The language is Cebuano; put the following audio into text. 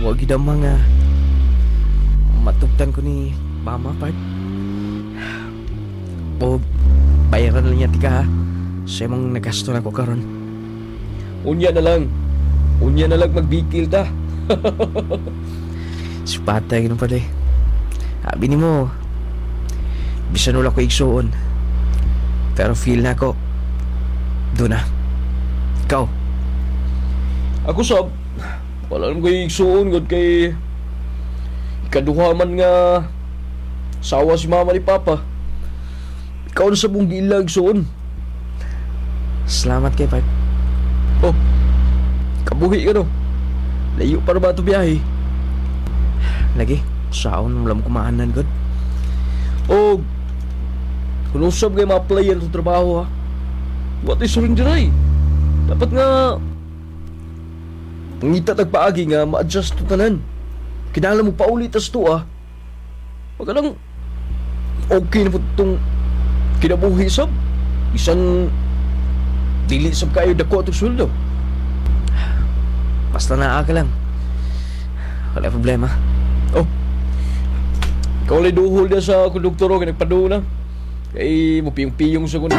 Wa gid mga matugtan ko ni mama, part. O bayaran lang niya tika ha. Sa imong nagasto na ko karon. Unya na lang. Unya na lang magbikil ta. Supatay ganun pala eh. Abi ni mo, bisan wala ko igsuon. Pero feel na ako, doon na. Ikaw? Ako sab, wala naman ko'y igsuon gud kay ikaduha man nga sawa si mama ni papa. Ikaw na sa buong giila igsuon. Salamat kay Park. Oh, kabuhi ka no. Layo para ba ito biyahe? Lagi, saon wala mo kumaanan gud. O, kung usab kay ma-apply yan sa trabaho ha. What is surrender ay? Dapat nga, pangita tagpaagi nga ma-adjust to tanan. Kinahanglan mo paulit tas to ah. Pagka lang, okay na po itong kinabuhi sab. Isan, dili sab kayo dako atong sweldo. Basta naa ka lang. Wala problema. Oh, ikaw lang duhol niya sa konduktor o, nagpaduo na. Kay, mupiyong-piyong sa kuno.